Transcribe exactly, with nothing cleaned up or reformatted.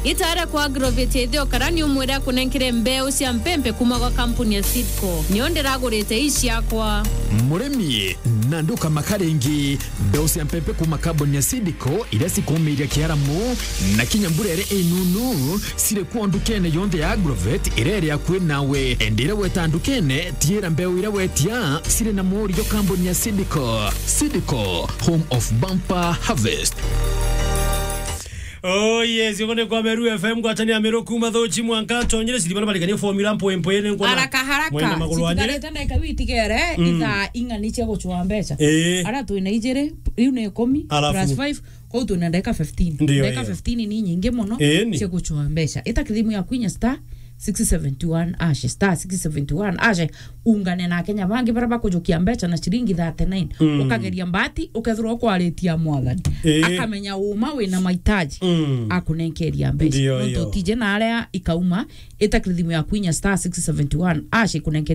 Itare kwa Agrovet ya Ithio Karani umwire akunenkere mbeu cia mpempe kuma gwa kampuni ya Seedco. Nio ndiragurite ii ciakwa. Murimi, na ndukamaka ringi. Mbeu cia mpempe kuma kampuni ya Seedco iria cikumiria kiaramu na kinya mbura iria inunu ciri kuo ndukene yonthe ya Agrovet iria iri akui nawe. Endire weta ndukene, tiira mbeu iria wetia ciri na murio kampuni ya Seedco. Seedco, home of bumper harvest. Oh yes, uko ni kwa Meru F M, gwatania Meru kuma Thochi mwanka tonyire ciri bana barikanie formula mpoe mpoe ni ngona. Haraka, haraka. Mwena maguru ane. Citigarite ndagika witigere, mm, ithaa ing'ani cia gucua mbeca. Ii. Ara twina ijiri, riu ni ikumi, alafu, plus five, kwou twina ndagika fifteen. Ndio, ndagika iyo. Fifteen ni nyingi muno, ii, ni, cia gucua mbeca. Ita kithimu ya kwinya star six seventy one hash, star six seventy one hash, ungane na Akenya bangi baria bakujukia mbeca na ciringi thirty nine. Mm. Ukageria mbati, ukethirwa ukwaritia Mwathani. Ii. Akamenya uma wina mahitaji, mm, akunenkeria mbeca. Ndio, nontu iyo. Utije na aria ikauma, ita kithimu ya kwinya star six seventy one hash ikunenkeria